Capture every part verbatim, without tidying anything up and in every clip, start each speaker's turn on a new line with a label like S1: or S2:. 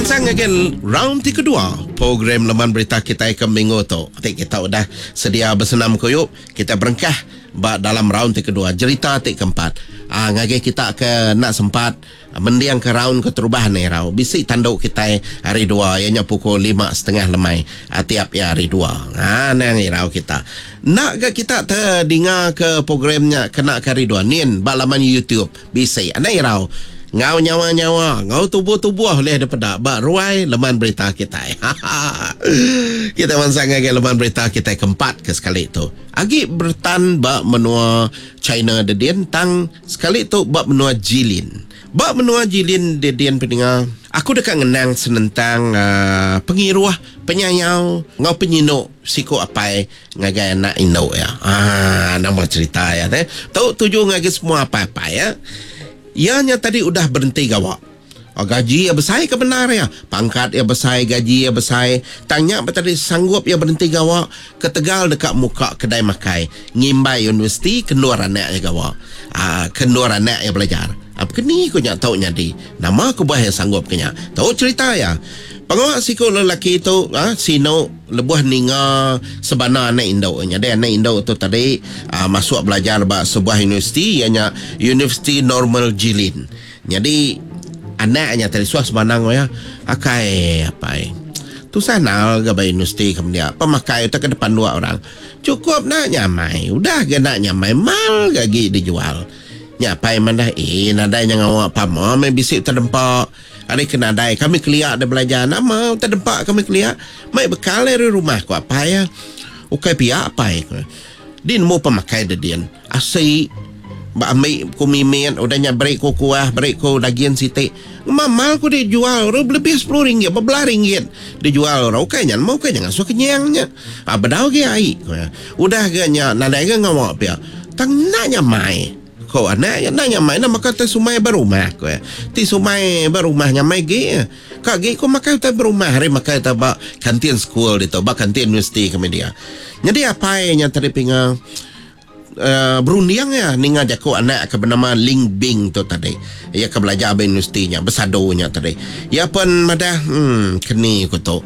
S1: mansang ngagai round ti kedua program Leman Berita kitai ke minggu tu. Ti kita udah sedia besenam kuyup, kita berengkah ba dalam round ti kedua, jerita ti keempat. Ah, ngagai kita ke enda sempat mending ke round keterubah ni rau, bisi tandu kitai hari dua iya nya pukul lima setengah lemai ah, tiap iya hari dua. Ha, nang irau kita. Enda ga kita tedinga ke program nya kena ke hari dua nin ba laman YouTube bisi. Anda irau. Enggau nyawa-nyawa, enggau tubuh-tubuh ulih dipeda ba ruai Leman Berita kitai. Kita mansang ngagai Leman Berita kitai keempat ke sekali tu. Agi beretan ba menua China dedin tang sekali tu ba menua Jilin. Ba menua Jilin dedin peninga, aku deka ngenang senentang uh, pengiruh, penyayau enggau penyinu siku apai ngagai anak indu ya. Ah, nama cerita ya teh. Tu tuju ngagai semua apai-apai ya. Iya nya tadi udah berhenti gawa. Oh, gaji ia besai ke benar ya. Pangkat ia besai, gaji ia besai. Tanya tadi sanggup ia berhenti gawa ketegal dekat muka kedai makai. Ngimbai universiti kendur anak ia gawa. Ah, kendur anak ia belajar. Apa keni ku nya tau nyadi. Nama aku bah yang sanggup kenya. Tau cerita ya. Pengawak siku lelaki tu ah, sino lebuh ninga sebana anak induk. Jadi anak induk tu tadi ah, masuk belajar ba sebuah universiti ianya Universiti Normal Jilin. Jadi anaknya tadi suah sebana ya. Akai apai. Tusah nal ke ba universiti kemudian pemakai tu ke depan dua orang. Cukup nak nyamai. Udah ke nak nyamai mal gagi dijual. Nya apai mandah eh nadai nya ngawak pama mai bisi terdempak. Hari ke nadai kami keliak dah belajar nama terdempak kami keliak mai bekal dari rumah ku apai ya. Ukai pihak apai ku. Di nemu pemakai dedin. Asi ba ambil ku mimit udah nya beri ku kuah beri ku daging sitik. Mamal ku dijual orang lebih sepuluh ringgit, berbelah ringgit dijual orang. Ukai nya mau ukai jangan suka kenyangnya. Ah bedau ge ai ku. Udah ge nya nadai ge ngawak pia. Tang nak nyamai. Ko anak ya nak nyamai nak makan teh sumai berumah ko ya. Ti sumai berumah nyamai ge. Ka ge ko makan teh berumah hari makan teh ba kantin school ditu ba kantin universiti kami dia. Jadi apai nya tadi pinga uh, berunding ya ninga jaku anak ke bernama Ling Bing tu tadi. Ia ke belajar ba universiti nya bersadunya tadi. Ia pun madah hmm keni ku tu.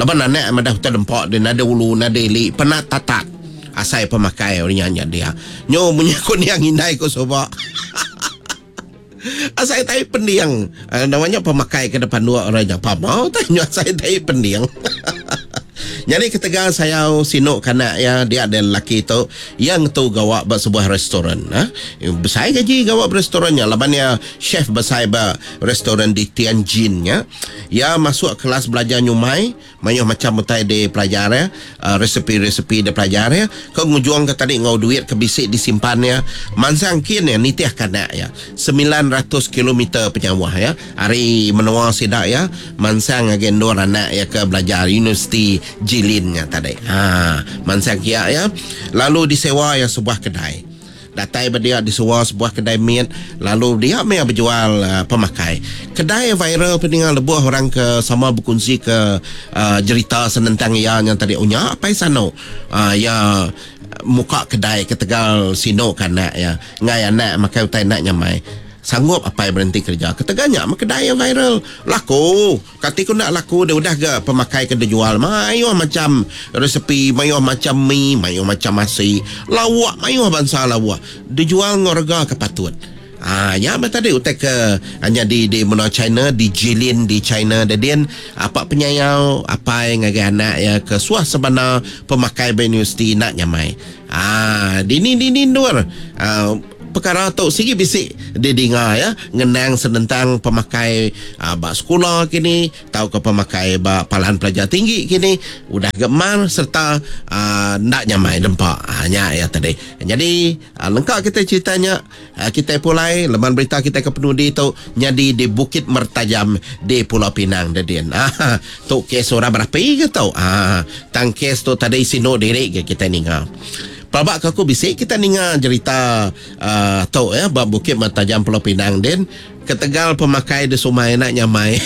S1: Laban anak madah utai dempak dia nada ulu nada ili penat tatat. Asai pemakai orang nya dia. Nyo munyi ku niang indai ku soba. Asai tai pendiang. Uh, namanya pemakai ke depan dua orang nya. Pamau tai nyo asai tai pendiang. Jadi ketegal saya sinuk kanak ya dia ada lelaki tu yang tu gawak ba sebuah restoran ha. Besai gaji gawak ba restorannya laban ya chef besai ba restoran di Tianjin ya. Ya masuk kelas belajar nyumai mayuh macam utai di pelajar ya, uh, resepi-resepi di pelajar ya. Ke ngujuang ke tadi ngau duit ke bisik disimpan ya. Mansang kin ya nitih kanak ya. sembilan ratus kilometer penyawah ya. Hari menua sidak ya mansang ngagai endur anak ya ke belajar universiti Jilin nya tadi. Ha, mansang kia ya. Lalu disewa ya sebuah kedai. Datai berdia disewa sebuah kedai mit, lalu dia meh berjual uh, pemakai. Kedai viral peningal lebuh orang ke sama berkongsi ke uh, cerita senentang ia yang tadi unya apa sano. Uh, ya muka kedai ke Tegal sino kanak ya. Ngai anak makai utai nak nyamai. Sanggup apa yang berhenti kerja. Keteganya kedai yang viral laku. Kati ku nak laku dia udah ke pemakai ke dijual. Mayuh macam resepi, mayuh macam mi, mayuh macam nasi, lawak, mayuh bangsa lawak. Dijual ngorga ke patut. Ah, ya apa tadi utai ke hanya di di menua China, di Jilin di China dan apa penyayau apa yang ngagai anak ya ke suah sebana pemakai universiti nak nyamai. Ah, dini dini nur. Ah, perkara tu sigi bisik didengar ya ngenang senentang pemakai uh, ba sekolah kini tau ke pemakai ba palan pelajar tinggi kini udah gemar serta uh, nak nyamai dempak uh, nya ya tadi. Jadi uh, lengkap kita ceritanya uh, kita pulai leman berita kita ke penudi tu nyadi di Bukit Mertajam di Pulau Pinang dedin. Ah tu kes orang berapi ke tau. Ah tang kes tu tadi sino diri ke kita ninga. Pelabak aku bisik kita ninga cerita uh, tu ya bab Bukit Mertajam Pulau Pinang den ketegal pemakai di sumai nak nyamai.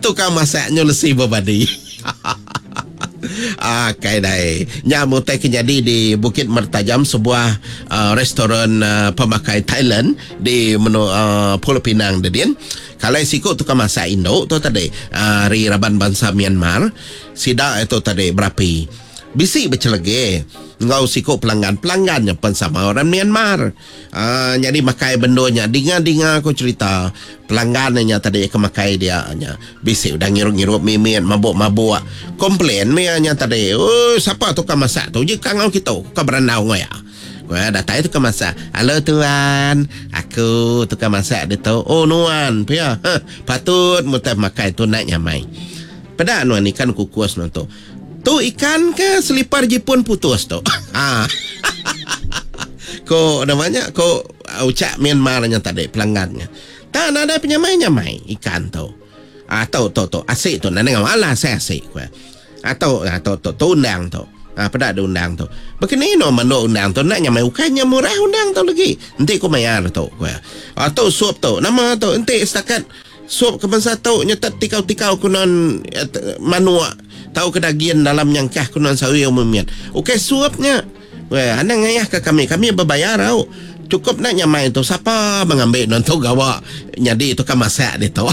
S1: Tukang masaknya lesi berbadi. Ah kai dai. Nya mutai ke jadi di Bukit Mertajam sebuah uh, restoran uh, pemakai Thailand di menu uh, Pulau Pinang dedin. Kalai siku tukang masak indu tu tadi ari raban bansa Myanmar, sida itu tadi berapi. Bisi bechelege enggau siku pelanggan. Pelanggan nya pen sama orang Myanmar. Uh, jadi makai bendo nya dinga-dinga aku cerita pelanggan nya tadi ke makai dia nya bisi udah ngirup-ngirup mimit mabuk-mabuk. Komplain mia nya tadi. Oh, siapa tukang masak tu? Je kangau kita ke berandau ngau ya. Wah, datai tukang masak. Halo tuan, aku tukang masak dia tu. Oh nuan, pia. Huh, patut mutai makai tu nak nyamai. Peda nuan ikan kukus nuan tu. Tu ikan ke selipar Jepun putus tu. Ha. Ko namanya ko ucap Myanmar nya tadi pelanggannya. Tak ada penyamai-nyamai ikan tu. Ah tu tu tu asik tu nak ngau alah saya asik ku. Atau atau tu tu undang tu. Ah peda ada undang tu. Begini no menu undang tu nak nyamai ukainya murah undang tu lagi. Enti ku bayar tu ku. Atau sup tu nama tu enti setakat sup ke bangsa tu nyetet tikau-tikau kunon manuak tahu ke daging dalam nyangkah kunon sawi umumnya. Okey suapnya. Weh, anang ngayah ke kami, kami berbayar tau. Cukup nak nyamai tu siapa mengambil non tu gawa nyadi tu kan masak dia tu.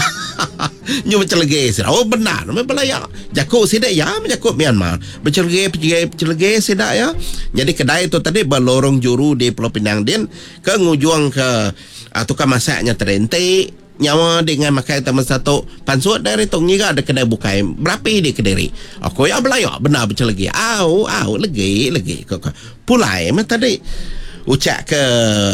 S1: Nyu bercelege sida. Oh benar, memang belayak. Jakuk sida ya, jakuk Myanmar. Bercelege, bercelege, bercelege sida ya. Jadi kedai tu tadi berlorong juru di Pulau Pinang din ke ngujuang ke uh, tukang masaknya terenti nyawa dengan makai taman satu pansut dari tu ngira ada kedai bukai berapi di kediri. Aku ya belayak benar bercelege. Au au legi legi kok pulai mah tadi ucap ke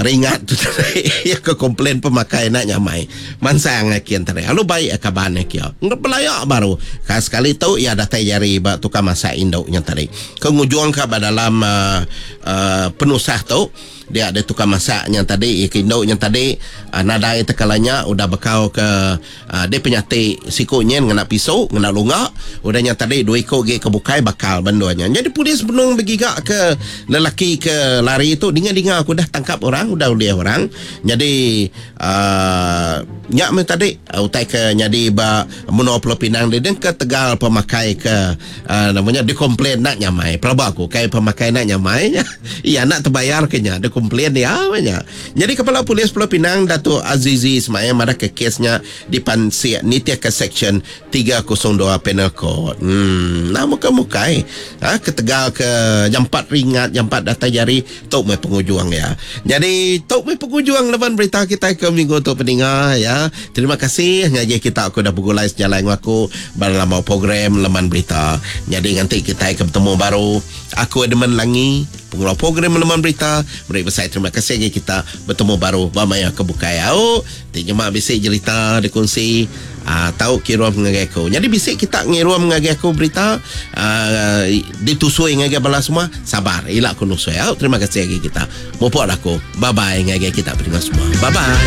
S1: ringat tu tadi ya ke komplain pemakai nak nyamai mansang kian tadi. Lalu baik kaban kia. Ngep belayak baru. Ka sekali tu ia datai jari ba tukang masak induknya tadi. Ke ngujuang ka ba dalam uh, uh, penusah tu dia ada tukang masaknya tadi, induknya tadi uh, nadai tekalanya udah bekau ke uh, dia penyati sikunya ngena pisau, ngena lunga, udahnya tadi dua ikut ge ke bukai bakal banduannya. Jadi polis benung bergigak ke lelaki ke lari tu dinga-dinga aku dah tangkap orang, udah uliah orang. Jadi uh, nyak me tadi uh, utai ke nyadi ba menua Pulau Pinang dia ke Tegal pemakai ke uh, namanya dia komplain nak nyamai. Pelaba aku kai pemakai nak nyamai. Iya nak terbayar kenya dia komplain dia banyak. Jadi Kepala Polis Pulau Pinang Datuk Azizi Ismail marah ke kesnya di Pansik nitia ke Section tiga kosong dua Penal Code. Hmm, nama ke mukai. Ha, ke Tegal ke jam empat ringat, jam empat datang jari tok mai pengujuang ya. Jadi tok mai pengujuang leban berita kita ke minggu untuk pendengar ya. Terima kasih ngaji kita aku dah bergulai sejalan dengan aku dalam program Leman Berita. Jadi nanti kita akan bertemu baru. Aku Edmund Langi, pengelola program Leman Berita. Beri besar terima kasih lagi kita bertemu baru ba maya ke bukai. Au, ti nyemak bisik cerita dikongsi ah tahu kirum ngagai aku. Jadi bisik kita ngirum ngagai aku berita ah, ditusui ngagai bala semua. Sabar, ilak aku nusui. Au, terima kasih lagi kita. Mupok aku. Bye bye ngagai kita pendengar semua. Bye bye.